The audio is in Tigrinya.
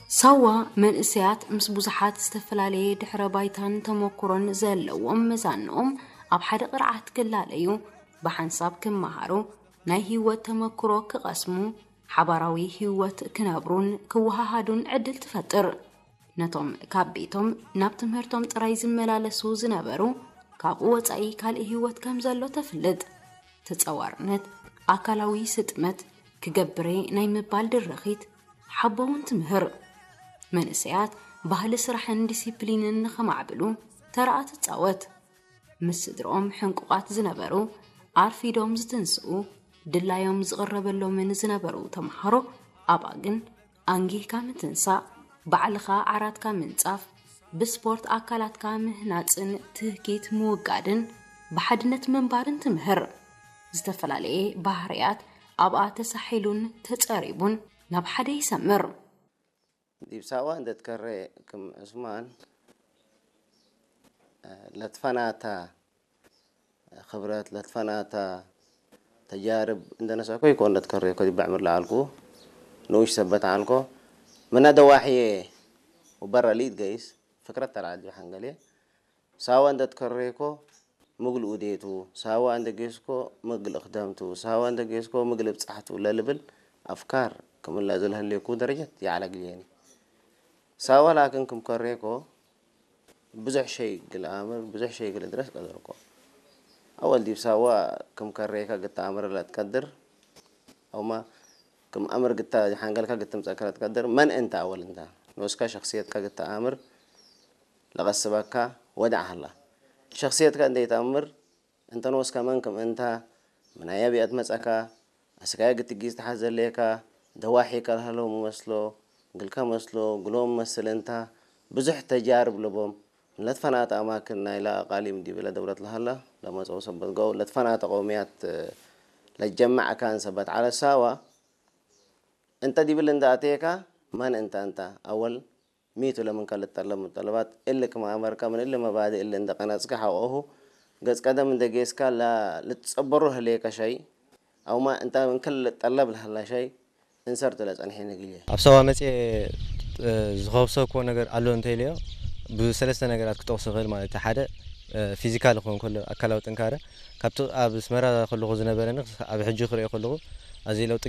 ሳዋ መንእሰያት ምስ ብዙሓት ዝተፈላለየ ድሕረ ባይታን ተመኩሮን ዘለዎም መዛንኦም ኣብ ሓደ ቅርዓት ክላለዩ፣ ብሓንሳብ ክመሃሩ፣ ናይ ህይወት ተመኩሮ ክቐስሙ፣ ሓባራዊ ህይወት ክነብሩን ክወሃሃዱን ዕድል ትፈጥር። ነቶም ካብ ቤቶም ናብ ትምህርቶም ጥራይ ዝመላለሱ ዝነበሩ፣ ካብኡ ወጻኢ ካልእ ህይወት ከም ዘሎ ተፍልጥ። ተጸዋርነት፣ ኣካላዊ ስጥመት፣ ክገብሬ ናይ ምባል ድርኺት፣ ሓቦውን ትምህር። መንእሰያት ባህሊ ስራሕን ዲሲፕሊንን ንኸማዕብሉ ተራኣ ትጻወት። ምስ ስድርኦም ሕንቁቓት ዝነበሩ፣ ኣርፊዶም ዝትንስኡ፣ ድላዮም ዝቕረበሎምን ዝነበሩ ተምሃሮ ኣብኣ ግን፣ ኣንጊህካ ምትንሳእ፣ ባዕልኻ ዓራትካ ምንጻፍ፣ ብስፖርት ኣካላትካ ምህናጽን ትህኪት ምውጋድን ብሓድነት ምንባርን ትምህር። ዝተፈላለየ ባህርያት ኣብኣ ተሳሒሉን ተጸሪቡን ናብ ሓደ ይሰምር። ዲብ ሳዋ እንደትከሬ ክም ዑስማን ለትፈናታ ክብረት ለትፈናታ ተጃርብ እንደነሰእኮ ይኮን እንደትከሬ ኮ ዲብ ዕምር ለዓልኩ ንኡሽ ሰበት ዓልኮ ምና ደዋሕየ ወበረ ሊት ገይስ ፍክረት ተልዓል ዲብ ሓንገሌ ሳዋ እንደትከሬኮ ምግል ኡዴቱ ሳዋ እንደጌስኮ ምግል እክደምቱ ሳዋ እንደጌስኮ ምግል እብጻሕቱ ለልብል ኣፍካር ክምላ ዝለህሌኩ ደረጀት ይዓለግልየኒ። ሳዋ ላክን ክም ከሬኮ ብዙሕ ሸይ ግል ኣምር ብዙሕ ሸይ ግል እድረስ ቀደርኮ። ኣወል ዲብ ሳዋ ክም ከሬካ ግታ ኣምር ለትቀድር ኣውማ ክም ኣምር ግታ ሓንገልካ ግትምጸካ ለትቀድር መን እንተ ኣወል እንታ ንኡስካ ሸክስየትካ ግታ ኣምር ለቐስበካ ወዳዕ ሃላ። ሸክስየትካ እንደይተኣምር እንተ ንኡስካ መን ክም እንታ ምናያ ቢኣት መጸካ ኣስካያ ግትጊዝ ተሓዘሌካ ደዋሒካ ለሃለው መስሎ ግልካ መስሎ ግሎም መስል እንታ ብዙሕ ተጃርብ ልቦም ለትፈናተ ኣማክን ናይላ ኣቃሊም ዲብለ ደውለት ለሃላ ለመጸው ሰበት ገው ለትፈናተ ቀውምያት ለጀማዕካን ሰበት ዓለ ሳዋ እንተ ዲብል እንደ ኣቴካ መን እንተ እንተ ኣወል ሚቱ ለምንካ ልጠለብ ሙጠለባት እሊ ክም ኣመርካ ምን እሊ መባዲ እሊ እንደ ቀነጽካ ሓቆሁ ገጽ ቀደም እንደ ጌስካ ልትጸበሩ ህሌካ ሻይ ኣውማ እንተ ምንክል ልጠለብ ለሃላ ሻይ እንሰርት ለጸንሐ ንግልየ። ኣብ ሳዋ መጽኤ ዝኸብሰኩዎ ነገር ኣሎ እንተኢለዮ ብሰለስተ ነገራት ክጠቕሶ ይኽእል ማለት እዩ። ሓደ ፊዚካል ክኸውን ከሎ ኣካላዊ ጥንካረ ካብቲ ኣብ ኣስመራ ከለኹ ዝነበረኒ ኣብ ሕጂ ክሪኦ ከለኹ ኣዝዩ ለውጢ